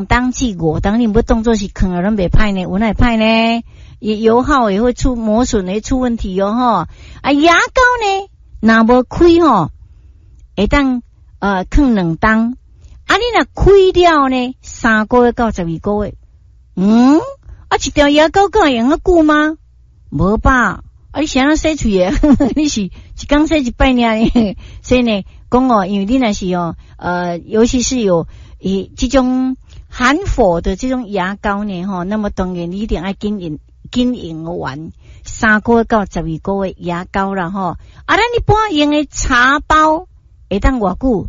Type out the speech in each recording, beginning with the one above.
冬至五冬，你毋欲當做是囥了攏袂歹呢？有哪會歹呢？也油耗也會出磨損，會出問題哦，吼！啊，牙膏呢，若無開吼，會當囥2冬。啊，你若開了呢，3個月到12個月。嗯，啊，一條牙膏敢會用遐久嗎？無吧？啊，你是按怎洗喙的？你是一工洗一擺爾呢？所以呢，講哦，因為你若是哦，尤其是有以這種含氟的這種牙膏呢，吼，那麼當然你一定愛緊用，緊用完3個月到12個月牙膏啦，吼。啊，咱一般用的茶包會當偌久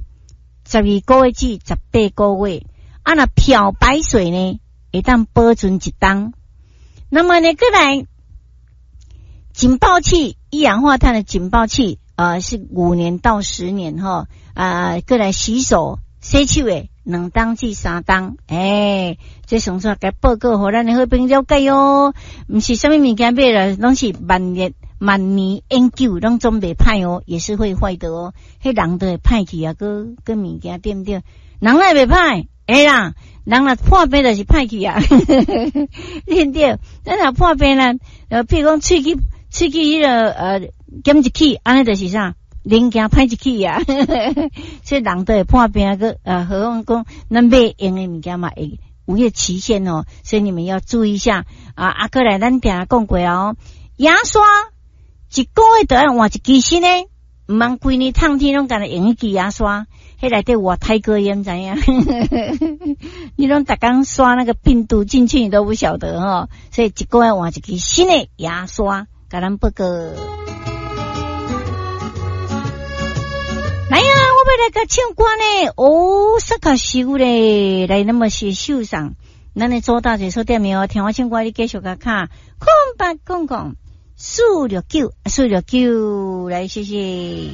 ？12個月至18個月。啊，若漂白水呢，會當保存一冬。那麼呢，閣來警報器，一氧化碳的警報器啊，是5年到10年哈。啊，閣來洗手洗手的2冬至3冬。欸，這上次共報告予咱的好朋友了解哦。毋是啥物物件買來，攏是萬年萬年永久，攏總袂歹哦，也是會壞的哦。彼人都會歹去啊，閣閣物件對毋對？人哪會袂歹？會啦，人若破病就是歹去啊，對毋對？咱若破病啦，譬如講喙齒彼個減一齒，按呢就是啥？零件歹一齒啊，所以人都會破病閣，何況講咱買用的物件嘛會有彼個期限哦，所以你們要注意一下啊！啊，閣來咱定講過哦，牙刷一個月著愛換一支新的，毋通規年冬天攏干焦用彼支牙刷，彼內底活太過炎，知影？你攏逐工刷那個病毒進去，你都不曉得吼，所以一個月換一支新的牙刷，共咱報告。來啊，我欲來共唱歌呢，哦，煞較熟咧，來，那麼是秀上，咱的周大姐說點名哦，聽我唱歌，你繼續共敲0800 469 469，來，謝謝。